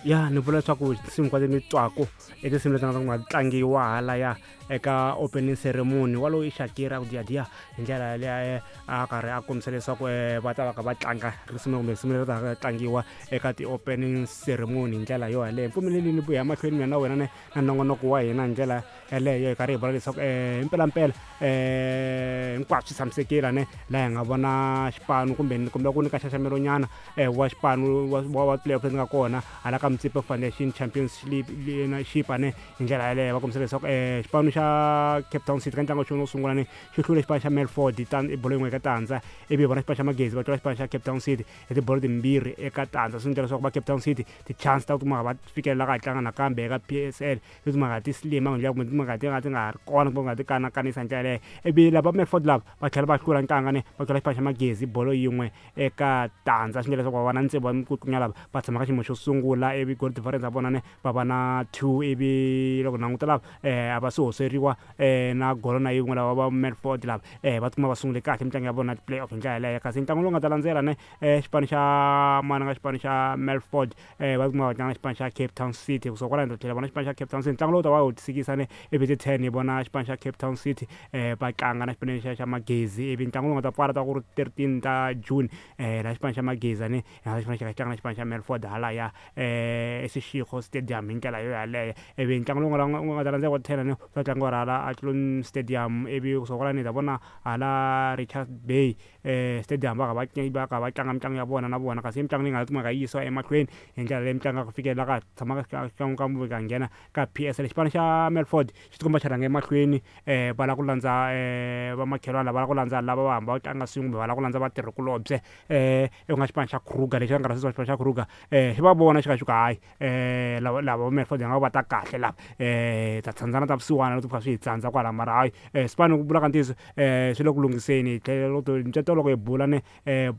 Ya, ni vula leswaku tinsimu hinkwato ni twaku i tinsimu leti nga ta nga tlangiwa halaya eka opening ceremony. Walowo i Shakira ku diyadiya hi ndlela yaleyo, a karhi a kombisa leswaku va ta va kha va tlanga risimu kumbe risimu leri ta tlangiwa eka ti-opening ceremony hi ndlela yo yaleyo. Mpfumeleli ni vuya mahlweni mina na wena ne na nongonoko wa hina hi ndlela yaleyo, hi karhi hi vula leswaku himpelampela hinkwaswo swi tshamisekile ne laha hi nga vona xipano kumbe kumbe ku nyika nxaxamelo nyana wa xipano wa playoff leti nga kona hala ka Motsepe Foundation Champions League ne. Hi ndlela yaleyo va kombisa leswaku xipano xa Cape Town City ka ntlangu wa xona wo sungula ni xi hlule xipano xa Melford hi bolo yin'we eka tandza, ivi hi vona xipano xa Magezi va tlula xipano xa Cape Town City hi tibolo timbirhi eka tandza. Swi endla leswaku va Cape Town City ti-chance ta ku tikuma va fikelela ka ha tlanga nakambe eka PSL ti timhaka ti slima hi ndlela kumbe timhaka ti nga ti nga ha ri kona kumbe nga ti kanakanisa hi ndlela yaleyo. Ivi lava Melford lava va tlhela va hlula ntanga ne va tlula xipano xa Magezi bolo yin'we eka tandza, swi endla leswaku va va na tsevu wa mikutlunya lava va tshama ka xiyimo xo sungula, ivi goal difference ya vona ne va va na 2. Ivi loko languta lava a va se hoseriwa na golo na yin'we lava va Melford lava va tikuma va sungule kahle mitlangu ya vona play off hi ndlela yaleyo. Kasi ntlangu lowu nga ta landzela ne xipano xa mana nga xipano xa Melford va tikuma va tlanga xipano xa Cape Town City. Kusuka kwalano hi ta tlhela vona xipano xa Cape Town City, ntlangu lowu ta va wu tisikisa ne ivi ti 10 hi vona xipano xa Cape Town City va tlanga na xipano xa Magezi. Ivi ntlangu lowu nga ta pfala ta ku ri 13 ta June laha xipano xa Magezi ne xipano xa tlanga na xipano xa Melford halaya eSeshego Stadium hi ndlela yo yaleyo. Ivi ntlangu lowu nga ta landzela wa 10 ne ta tlangiwa hala Athlone Stadium, ivi kusuka kwalano hi ta vona hala Richards Bay Stadium va kha va kha va tlanga mitlangu ya vona na vona. Kasi mitlangu leyi nga kumeka yi yisiwa emahlweni hi ndlela leyi mitlangu ya ku fikelela ka tshama ka ka ka nghena ka PSL. Xipano xa Melford xi tikomba xi rhanga emahlweni, va lava ku landza vamakhelwani lava lava ku landza lava va hamba va tlanga swin'we kumbe va lava ku landza vatirhikulobye, ku nga xipano xa Kruger lexi va nga rhangisa xipano xa Kruger xi va vona xi kha xi ku hayi, lava lava va Melford nga va ta kahle lava, ta tsandzana ta vusiwana loko kha swi hi tsandza kwala, mara hayi sipano ku vula ka ntiyiso swi le ku lunghiseni. Hi tlhela ntsweto loko hi bula ne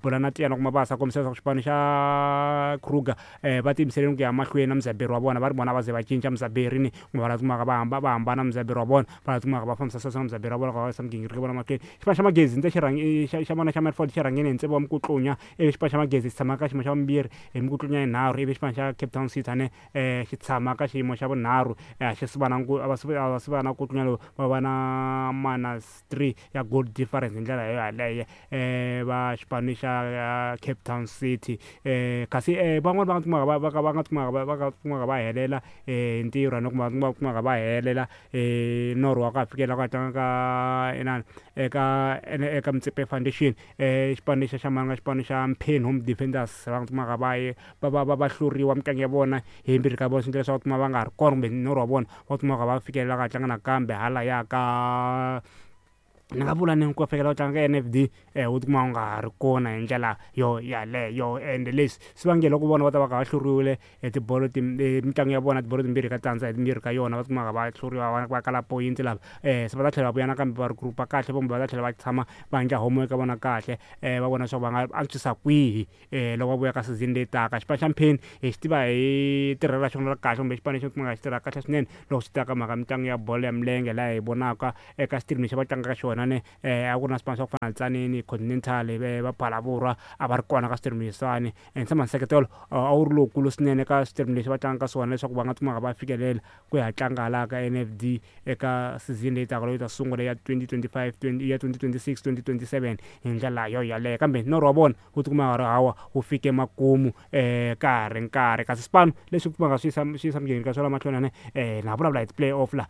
bula na Tiyani kuma va sa kombisa leswaku xipano xa Kruger va tiyimiseleni ku ya mahlweni na muzaberi wa vona, va ri vona va ze va cinca muzaberi ni kumbe va lava kumaka va hamba va hambana muzaberi wa vona, va lava kumaka va fambisa sweswo na muzaberi wa vona va yisa migingiriko vona mahlweni. Xipano xa Magezi ndze xi rhangi xa vona xa Melford xi rhangeni hi tsevu wa mikutlunya, ivi xipano xa Magezi xi tshama ka xiyimo xa vumbirhi hi mikutlunya yinharhu, ivi xipano xa Cape Town City ane xi tshama ka xiyimo xa vunharhu, xi si va na a va si va na kutlunya lowu va va na minus 3 ya goal difference hi ndlela yo yaleyo va xipano xa Cape Town City. Kasi van'wani va nga kumaka va va nga kumaka va va kumaka va helela hi ntirho no kuma va kumaka va helela norho wa ku ya fikela ku ya tlanga ka inani eka eka Motsepe Foundation, xipano lexi xa manga xipano xa Mpheni Home Defenders va nga kumaka va ye va va va va hluriwa mitlangu ya vona hi yimbirhi ka vona, swi endla leswaku kuma va nga ha ri kona kumbe norho wa vona wa kumaka va fikelela ka tlanga nakambe halaya ka ni nga vula ni ku fikela ku tlanga ka NFD wu tikuma wu nga ha ri kona hi ndlela yo yaleyo. Ende leswi swi vangela ku vona va ta va kha va hluriwile hi tibolo mitlangu ya vona tibolo timbirhi ka tandza hi timbirhi ka yona, va tikuma va hluriwa va kala point lava se va ta tlhela va vuya nakambe va regroup kahle kumbe va ta tlhela va tshama va endla homework ya vona kahle va vona leswaku va nga antswisa kwihi loko va vuya ka season leyi taka. Xipano xa Mpheni hi xi tiva hi tirhelo ra xona ra kahle kumbe xipano lexi kumeka xi tirha kahle swinene loko swi ta ka mhaka mitlangu ya bolo ya milenge, laha hi vonaka eka stream lexi va tlangaka xona ne a ku ri na swipano swa ku fana na Tzaneen, Continental, va Phalaborwa a va ri kona ka stream leswiwani. Ene tshama nseketelo a wu ri lowukulu swinene ka stream lexi va tlangaka swona leswaku va nga kumaka va fikelela ku ya tlanga hala ka NFD eka season leyi taka leyi ta sungula ya 2025 ya 2026 2027 hi ndlela yo yaleyo. Kambe norho wa vona wu tikuma nga ri hawa wu fike makumu ka ha ri nkarhi. Kasi swipano leswi kumaka swi yisa swi yisa migingiriko ya swona mahlweni ane na vulavula hi ti-play off la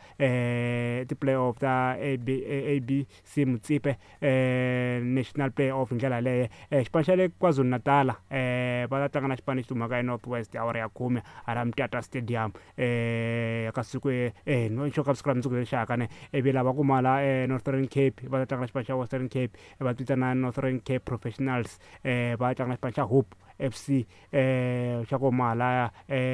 ti-play off ta ABC Motsepe National Play Off hi ndlela yaleyo. Xipano xa le KwaZulu Natal va ta tlanga na xipano lexi humaka eNorth West awara ya khume hala Mthatha Stadium ka siku no xo ka siku ra mundzuku lexi ne. Ivi lava kuma la Northern Cape va ta tlanga na xipano xa Western Cape va vitana Northern Cape Professionals va tlanga na xipano xa Hope FC xa ku huma halaya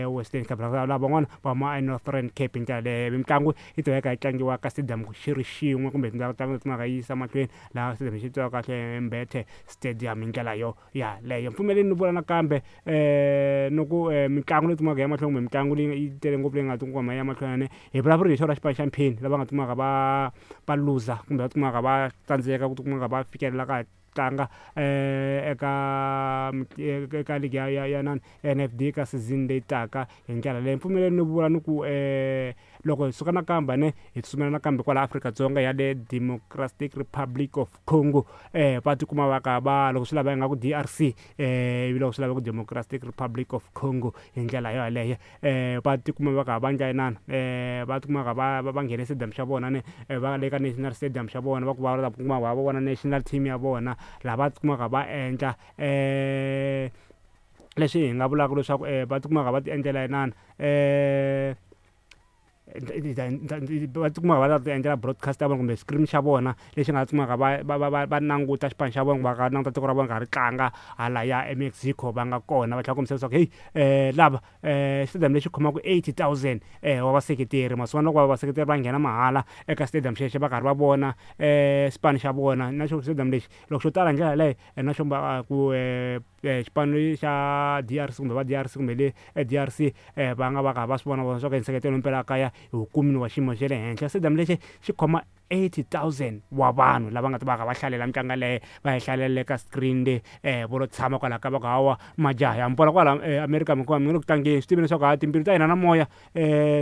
Western Cape, lava van'wana va huma eNorthern Cape. Hi ndlela leyo mitlangu yi ta va yi tlangiwa ka stadium xi ri xin'we kumbe tindhawu ta kumaka yi yisa mahlweni laha stadium xi tiviwaka kahle Mbethe Stadium hi ndlela yo yaleyo. Mpfumeleli ni vula nakambe ni ku mitlangu leyi kumaka ya mahlweni kumbe mitlangu leyi yi tele ngopfu leyi nga tikuma ya mahlweni hi vulavuri hi xona xipano xa Mpheni lava nga kumaka va va luza kumbe va kumaka va tsandzeka ku kumaka va fikelela ka tlanga eka ligi ya nani NFD ka season leyi taka hi ndlela leyi. Mpfumeleli ni vula ni ku loko hi suka nakambe ne hi tsutsumela nakambe kwala Afrika-Dzonga ya le Democratic Republic of Congo, va tikuma va ka va loko swi lava ingaku DRC, ivi loko swi lava ku Democratic Republic of Congo hi ndlela yo yaleyo, va tikuma va ka va ndla inana, va tikuma va va nghene stadium xa vona ne, va le ka National Stadium xa vona, va ku va ta kuma va vona national team ya vona, laha va tikumaka va endla leswi hi nga vulaka leswaku va tikumaka va ti endlela inana, va tikuma va lava ti endlela broadcast ya vona kumbe screen xa vona lexi nga tikumaka va languta xipano xa vona, va nga languta tiko ra vona ka ri tlanga halaya eMexico va nga kona. Va tlhela kombisa leswaku heyi, lava stadium lexi khomaka 80,000 wa vaseketeri, masiku loko vaseketeri va nghena mahala eka stadium xexo va karhi va vona xipano xa vona. Na xo stadium lexi loko xo tala hi ndlela yaleyo, na xo va ku xipano xa DRC kumbe va DRC kumbe le DRC, va nga va ka va swi vona leswaku nseketelo mpela kaya hi wukumini wa xiyimo xa le henhla. Stadium lexi xi khoma 80,000 wa vanhu lava nga ta va ka va hlalela mitlangu yaleyo, va yi hlalela eka screen le, vo lo tshama kwalaho ka va ku hawa majaha ya mi vona kwala America mi mi le ku tlangeni, swi tiveni leswaku ha timbilu ta hina na moya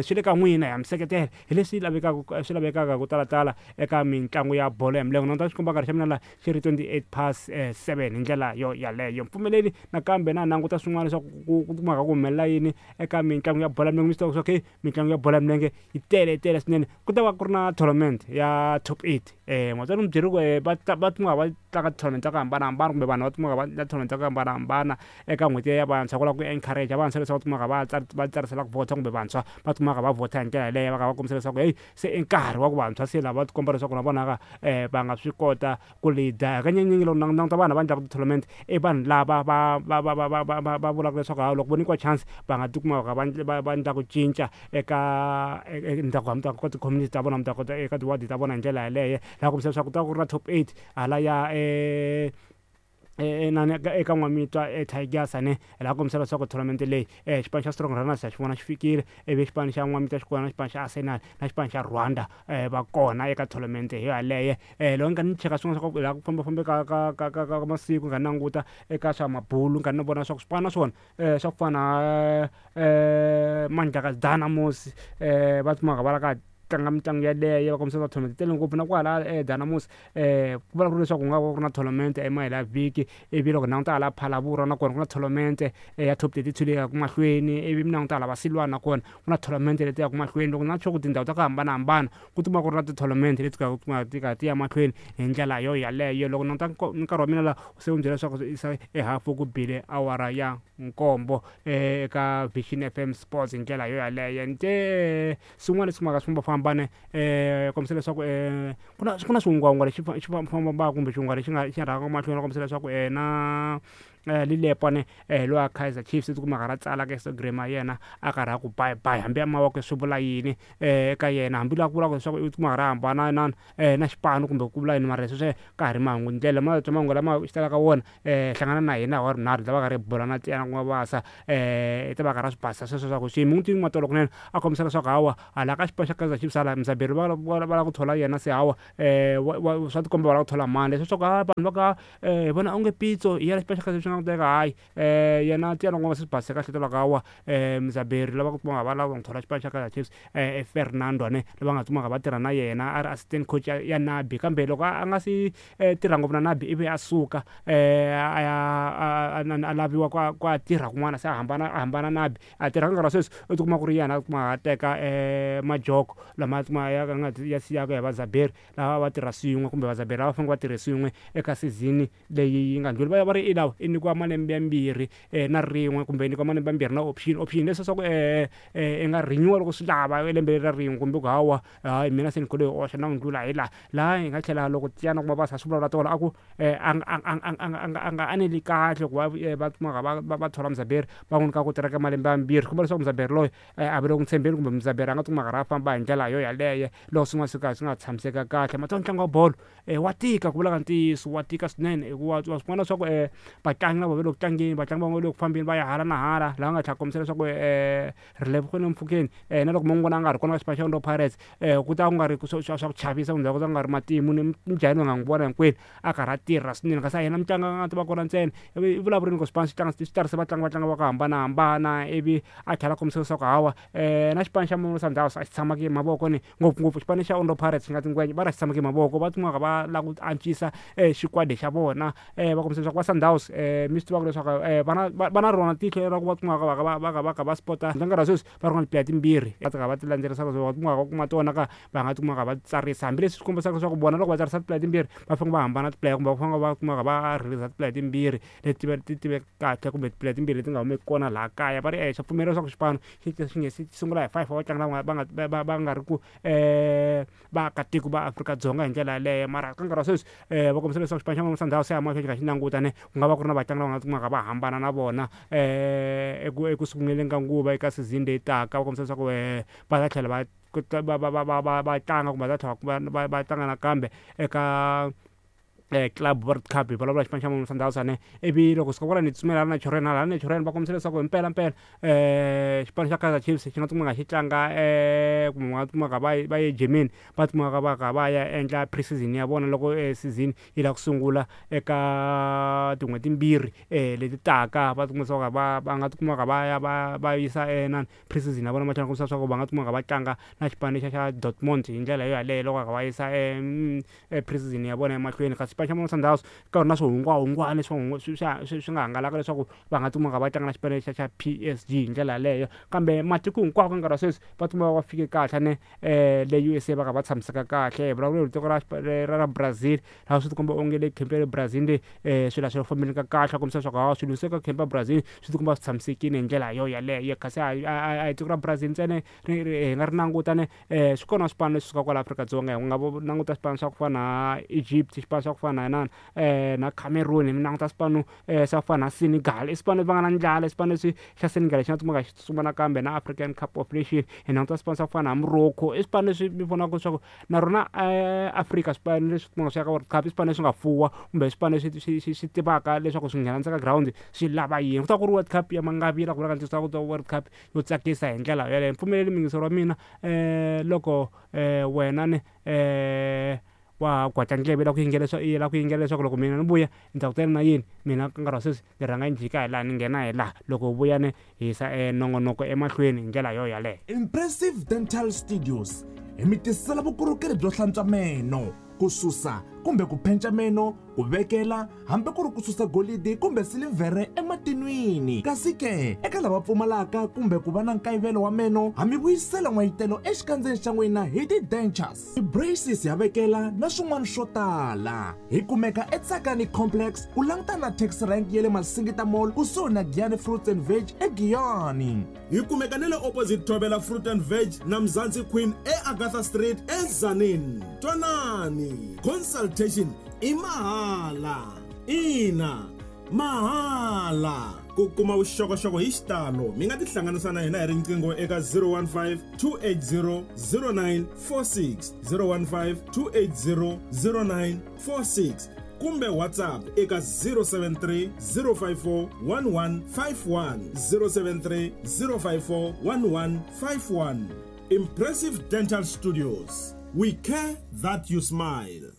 swi le ka n'wina, ya mi seketela hi leswi lavekaka, swi lavekaka ku talatala eka mitlangu ya bolo ya milenge. Na ta xikomba nkarhi xa mina la xi ri 7:28 hi ndlela yo yaleyo. Mpfumeleli nakambe na languta swin'wana leswaku ku kumaka ku humelela yini eka mitlangu ya bolo ya milenge. Mi swi tiva leswaku mitlangu ya bolo ya milenge yi tele tele swinene. Ku ta va ku ri na tournament ya top 8, matswari mi byeri ku va tikuma va tlanga tournament ta ku hambanahambana, kumbe vanhu va tikuma va endla tournament ta ku hambanahambana eka n'hweti ya vantshwa, ku lava ku encourage vantshwa leswaku va tikumaka va tsarisela ku vhota, kumbe vantshwa va tikumaka va vhota hi ndlela yaleyo, va kha va kombisa leswaku heyi se i nkarhi wa ku vantshwa se lava va tikomba leswaku na vona ka va nga swi kota ku leader. Hakanyingi loko languta vanhu va endlaka ti-tournament i vanhu lava va vulaka leswaku ha loko vo nyikiwa chance va nga tikuma va va endla ku cinca eka ndhawu ka ti-community ta vona, ta eka tiwadi ta vona hi ndlela yaleyo. Laha kombisa leswaku ku ta ku ri na top 8 hala ya nani eka N'wamitwa Tigers ne, laha kombisa leswaku tournament leyi xipano xa Strong Runners xa xi vona xi fikile, ivi xipano xa N'wamitwa xi kona, na xipano xa Arsenal na xipano xa Rwanda va kona eka tournament hi yaleyo. Loko ni nga ni cheka swin'wana swa ku laha ku fambafambe ka masiku, nga languta eka swa mabulu, nga ni vona swa ku swipano na swona swa ku fana Mandlakazi Dynamos, va tikumaka va la ka tlanga mitlangu yaleyo, va kombisa tournament tele ngopfu. Na kwala Dynamos, ku vula ku ri leswaku ku nga va ku ri na tournament emahelo ya vhiki, ivi loko languta hala Phalaborwa na kona ku na tournament ya top 32 leyi yaka mahlweni, ivi mi languta hala Vasilwana na kona ku na tournament leti yaka mahlweni. Loko na sure ku tindhawu ta ku hambanahambana ku tikuma ku ri na ti-tournament leti ka ti ya mahlweni hi ndlela yo yaleyo. Loko languta nkarhi wa mina la se wu byela leswaku i hafu ku bile awara ya 7 eka Vision FM Sports hi ndlela yo yaleyo. Nte swin'wana leswi kumaka swi fambafambane, kombisa leswaku ku na swihungwahungwa lexi xi fambafambaka kumbe xihungwa lexi nga xi rhangaka mahlweni, kombisa leswaku na Lilepo ne, lowa Kaizer Chiefs tikumaka ra tsala ka Instagram ya yena a karhi a ku bye bye, hambi mavoko swi vula yini eka yena, hambi la ku vulaka leswaku i tikumaka ra hambana na na xipano kumbe ku vula yini, mara leswi ka ha ri mahungu ndlela ma twa mahungu lama xi talaka wona. Hlangana na hina wa rinharhu ta va ka ri bula na Tiyana ku nga vasa, ta va ka ra swi basisa sweswo swa ku xiyimo n'wi tivi matolo kunene, a kombisa leswaku hawa hala ka xipano xa Kaizer Chiefs hala Mzaberi va lava ku thola yena, se hawa swa tikomba va lava ku thola mani leswi swa ku vanhu va ka hi vona onge Pitso hi yena xipano xa Kaizer Chiefs nga ku teka, hayi yena Tiyana ku nga se swi basisa kahle tolo ka hawa Mzaberi lava ku va lava ku thola xipano xa Kaizer Chiefs, Fernando ne lava nga tikumaka va tirha na yena a ri assistant coach ya Nabi, kambe loko a nga si tirha ngopfu na Nabi ivi a suka a ya a laviwa ku a tirha kun'wana, se a hambana Nabi a tirha nkarhi wa sweswi u tikuma ku ri yena a kuma a teka majoko lama kuma ya nga ya siyaka ya Vazaberi lava va tirha swin'we, kumbe Vazaberi lava fanele va tirhe swin'we eka season leyi yi nga ndlhula. Va va ri i lawa i nyikiwa malembe yambirhi na rin'we, kumbe i nyikiwa malembe mambirhi na option leswi swa ku i nga renew loko swi lava lembe leri ra rin'we, kumbe ku hawa hayi mina se ni khole hi oxa na ku ndlula hi laha laha hi nga tlhela loko Tiyana kuma va sa swi vulavula tolo a ku a nga aneli kahle ku va va kumaka va thola Mzaberi va n'wi nyika ku tirha ka malembe mambirhi, swi komba leswaku Mzaberi loyi a va le ku tshembeni, kumbe Mzaberi a nga tikuma karhi a famba hi ndlela yo yaleyo loko swin'wana swi ka swi nga tshamiseka kahle. Mathiwa ntlangu wa bolo wa tika ku vula ka ntiyiso, wa tika swinene hikuva wa swi vona leswaku vatlangi vatlangi na vona va le ku tlangeni, vatlangi van'wana va le ku fambeni va ya hala na hala, laha nga tlhela kombisa leswaku Relebohile Mofokeng na loko mo n'wi vona a nga ri kona ka xipano xa Orlando Pirates ku ta ku nga ri swa ku chavisa kumbe ku ta ku nga ri matimu ni njhani va nga n'wi vona hinkwenu a karhi a tirha swinene, kasi a yena mutlangi a nga ta va kona ntsena. I vulavurile ku xipano xi tlanga xi tirhise vatlangi va tlanga va ku hambanahambana, ivi a tlhela a kombisa leswaku hawa na xipano xa Mamelodi Sundowns a xi tshamaki hi mavoko ni ngopfungopfu xipano xa Orlando Pirates xi nga tingwenya va ri a xi tshamaki hi mavoko, va tikuma va lava ku antswisa xikwadi xa vona. Va kombisa leswaku va Sundowns mi swi tivaka leswaku va na rona tihlo ra ku va tikuma va va va va kha va spota nkarhi wa sweswi va ri na tiplayer timbirhi va ka va ti landzelerisa va tikuma va kuma tona ka va nga tikuma va tsarisa, hambileswi swi kombisaka leswaku vona loko va tsarisa tiplayer timbirhi va fanele va hambana tiplayer kumbe va fanele va kumaka va release tiplayer timbirhi leti ti tiveka kahle kumbe tiplayer timbirhi leti nga humeki kona laha kaya. Va ri xa pfumela leswaku xipano xi xi nge xi sungula hi 5 wa vatlangi lava va nga va nga ri ku vaakatiko va Afrika-Dzonga hi ndlela yaleyo, mara ka nkarhi wa sweswi va kombisa leswaku xipano xa Mamelodi Sundowns se ya mahlweni xi kha xi languta ne ku nga va ku ri na vatlangi lava nga kumaka va hambana na vona eku sunguleni ka nguva eka season leyi taka. Va kombisa leswaku va ta tlhela va va va va va va tlanga kumbe va ta tlhela va va tlanga nakambe eka Club World Cup, hi vulavula xipano xa Mamelodi Sundowns ne. Ivi loko suka kwala ni tsutsumela hala Naturena, hala Naturena va kombisa leswaku himpela mpela xipano xa Kaizer Chiefs xi nga tikuma xi tlanga kumbe va nga tikuma va va ye Germany, va tikuma va kha va ya endla pre-season ya vona loko season yi lava ku sungula eka tin'hweti timbirhi leti taka. Va tikuma leswaku va va nga tikuma va ya va va yisa inani pre-season ya vona mahlweni, kombisa leswaku va nga tikuma va tlanga na xipano lexiya xa Dortmund hi ndlela yo yaleyo loko va yisa pre-season ya vona emahlweni. Kasi xipano xa Mamelodi Sundowns ka ri na swihungwahungwana swi swi nga hangalaka leswaku va nga tikuma va tlanga na xipano lexiya xa PSG hi ndlela yaleyo, kambe matiko hinkwawo ka nkarhi wa sweswi va tikuma va fike kahle ne le USA va kha va tshamiseka kahle. Hi vulavula hi tiko ra ra Brazil, laha swi tikomba onge le camp ya le Brazil le swilo a swi fambeni ka kahle, kombisa leswaku hawa swilo se ka camp ya Brazil swi tikomba swi tshamisekile hi ndlela yo yaleyo. Kasi a hi tiko ra Brazil ntsena hi nga ri languta ne swi kona swipano leswi sukaka kwala Afrika-Dzonga, hi nga languta swipano swa ku fana na Egypt, xipano swa ku fana na na Cameroon, mi languta swipano swa ku fana na Senegal, i swipano leswi va nga na ndlala, i swipano leswi xa Senegal xi nga tikuma xi tsutsuma nakambe na African Cup of Nation. Hi languta swipano swa ku fana na Morocco, i swipano leswi mi vonaka leswaku na rona Afrika swipano leswi kumaka swi ya ka World Cup i swipano leswi nga fuwa kumbe swipano leswi swi swi swi tivaka leswaku swi nghena ndzeni ka ground swi lava yini. Ku ta ku ri World Cup ya mangavila ku vula ka ntiyiso, ku ta World Cup yo tsakisa hi ndlela yaleyo. Pfumeleli muyingiseri wa mina loko wena ni wa ha gwatla ndleve la ku yingela la ku yingela leswaku loko mina ni vuya ni ta ku tela na yini, mina ka nkarhi wa sweswi ni rhanga ni jika hi laha ni nghena hi laha, loko vuya ni hisa nongonoko emahlweni hi ndlela yo yaleyo. Impressive Dental Studios hi mi tisela vukorhokeri byo hlantswa meno, ku susa kumbe ku phenca meno, ku vekela hambi ku ri ku susa golidi kumbe silivhere ematinwini. Kasi ke eka lava pfumalaka kumbe ku va na nkayivelo wa meno, ha mi vuyisela n'wayitelo exikandzeni xa n'wina hi ti-dentures, ti-braces ya vekela na swin'wana swo tala. Hi kumeka eTsakani Complex ku langutana na taxi rank ya le Masingita Mall kusuhi na Giyani Fruits and Veg eGiyani. Hi kumeka na le opposite Thobela Fruit and Veg na Mzansi Queen eAgatha Street eTzaneen. Twanani, consultation i mahala. Ina, mahala. Ku kuma vuxokoxoko hi xitalo mi nga tihlanganisa na hina hi riqingho eka 015 280 0946, 015 280 0946 kumbe WhatsApp eka 073 054 1151, 073 054 1151. Impressive Dental Studios, we care that you smile.